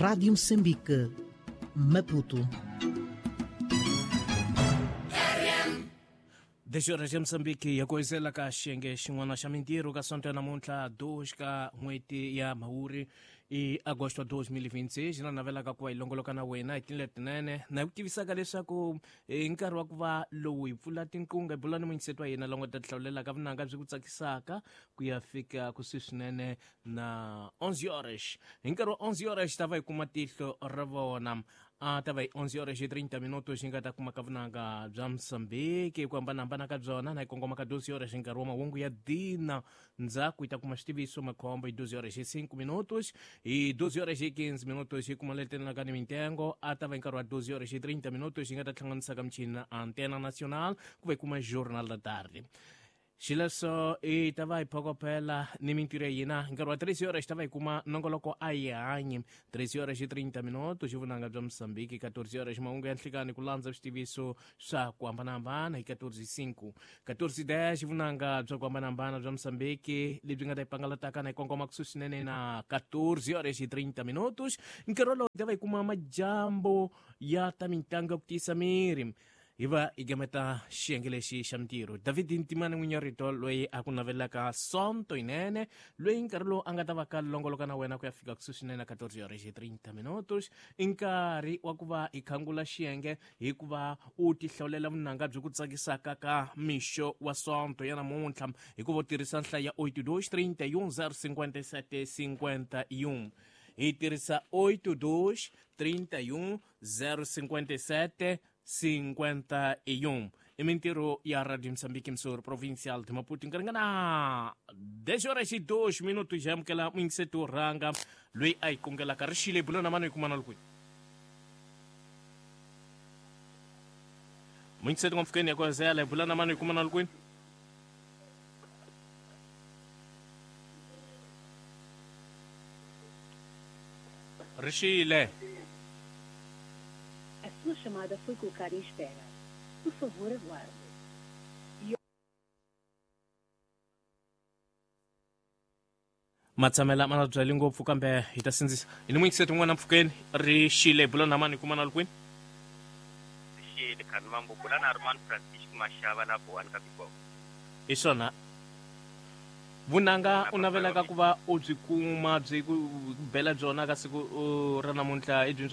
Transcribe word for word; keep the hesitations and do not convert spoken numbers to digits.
Rádio Moçambique, Maputo. dez horas em Moçambique ya koizela ka xiyenge xin'wana xa mintirho ka sonto ya namuntlha dois ka n'hweti ya Mhawuri i agosto dois mil e vinte e seis na navelaka ku va hi longoloka na wena hi tindlela tinene na ku tivisaka leswaku hi nkarhi wa ku va lowu hi pfula tinqunga hi bula ni muyingiseti wa hina longo ta tihlawulelaka vunanga byi ku tsakisaka ku ya fika kusuhi swinene na onze horas. Hi nkarhi wa onze horas ta va hi kuma tihlo ra vona a ta va hi onze horas e trinta minutos hi nga ta kuma ka vunanga bya Moçambique ku hambanahambana ka byona na hi kongoma ka doze horas hi nkarhi wa mahungu ya dina ndzhaku hi ta kuma xitiviso makhombo hi doze horas e cinco minutos hi doze horas e quinze minutos hi kuma letelelaka ni mintengo a ta va hi nkarhi wa doze horas e trinta minutos hi nga ta hlanganisa ka michini na Antena Nacional ku va hi kuma Jornal da Tarde. Xileswo i ta va hi phokophela ni mintirho ya hina nkarhi wa treze horas ta va hi kuma nongoloko a hi hanyi treze horas e trinta minutos xi vunanga bya Moçambique quatorze horas mahungu ya nhlikani ku landza switiviso swa ku hambanahambana hi quatorze cinco quatorze dez xi vunanga bya ku hambanahambana bya Moçambique lebyi nga ta hi pangalataka na hi kongoma kusuhi swinene na quatorze horas e trinta minutos nkarhi wolowo hi ta va hi kuma majambo ya ta mitlangu ya ku tiyisa miri hi va hi gameta xiyenge lexi xa mintirho. David Ntimane n'winyi wa rito loyi a ku navelaka sonto yinene loyi nkarhi lowu a nga ta va ka longoloka na wena ku ya fika kusuhi swinene na quatorze horas e trinta minutos i nkarhi wa ku va hi khangula xiyenge hikuva u tihlawulela vunanga byi ku tsakisaka ka mixo wa sonto ya namuntlha hikuva u tirhisa nhlayo ya oito dois trinta e um zero cinquenta e sete cinquenta e um. Hi tirhisa oito dois trinta e um zero cinquenta e sete cinquenta e um. I mintirho ya Radio Moçambique Msoro Provincial de Maputo nkarhi na dez horas e dois minutos hi amukela muyingiseti wo rhanga loyi a hi kungelaka ri xile bulo na mani hi kumana loko muyingiseti n'wampfukeni ya kwazela hi bula na mani hi kumana kwini. Ri xile. A sua chamada foi colocada em espera. Por favor, aguarde. Matshamela ma na byali ngopfu kambe hi ta sindzisa hi ni muyingiseti un'wana mpfukeni ri xile bula na mani hi kumana kwini. Xile khani mambo bula na Armand Francisco Mashava la Boani ka Bikoko. Hi swona vunanga u navelaka ku va u byi kuma byi ku bela byona ka siku ra namuntlha i byi